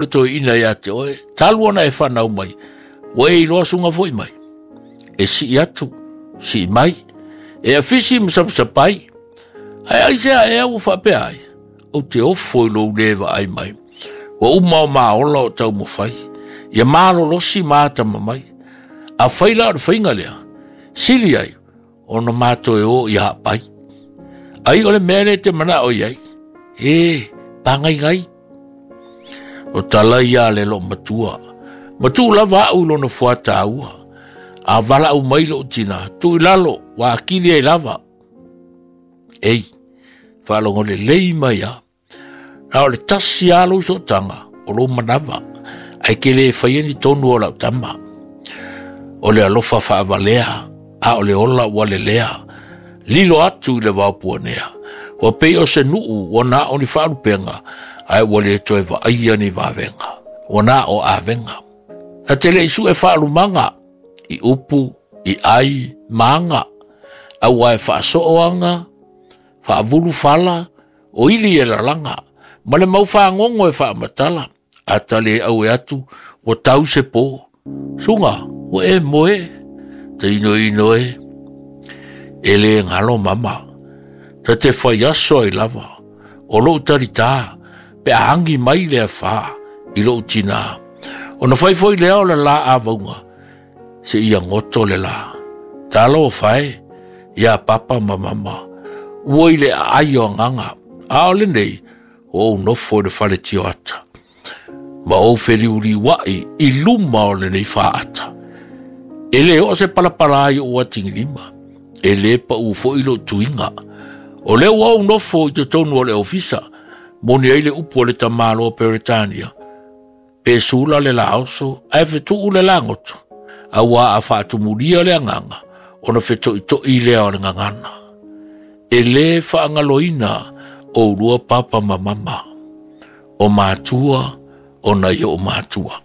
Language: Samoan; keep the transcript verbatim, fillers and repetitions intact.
Le toeaina ia te oe, talu ona e fanau mai, ua e iloa suga foi mai. E sii atu, sii mai, e afisi ma sapasapai. Ae aisea ea ua faapea ai? Ou te ofo i lou le vaai mai. Ua uma o maola o taumafai, ia malolosi ma atamamai. Afai la o le faiga lea, sili ai ona ma toe o i Haapai. Ai o le mea lea e te manao i ai, e pagaigai. O tala ia a le loomatua, ma tuu lava au i lona fuataua. A valaau mai lou tina, tuu i lalo, ua akili ai lava. Ei, faalogo lelei mai a. Na o le tasi lava lou sootaga, o lou manava, ae ke le faia ni tonu o lau tama. O le alofa faavalea, a o le ola ua lelea, lilo atu i le vao puanea. Ua pei o se nuu ua na o ni faalupega, ae ua le toe vaaia ni vavega. Ua na o avega. Na te le i sue faalumaga, i upu, i ai, ma aga, aua e faasoo aga, faavulu fala, o ili e lalaga, ma le mau fagogo e faamatala, a ta le aue atu, ua tau se po. Suga, ua e moe, tainoino e, e le galo mama. Ta te fai aso ai lava, o lou talitā, pe a agi mai le afā i lou tinā. Ona fai foi lea o le la avauga, seia goto le la. Talofa e, ia papa ma mama, ua i le aai o agaga, a o lenei, ua ou nofo i le fale tioata. Ma ou feliuliuai i luma o lenei faata. E le oo se palapala i ou atigilima, e le pau foi lou tuiga. O lea ua ou nofo i totonu o le ofisa, moni ai le upu a le tamāloa Peretania, pe sula le laoso, ae fetuu le lagoto, auā a faatumulia le agaga, ona fetoitoi lea o le gagana. E lē faagaloina oulua papa ma mama, o matua o nai oo matua.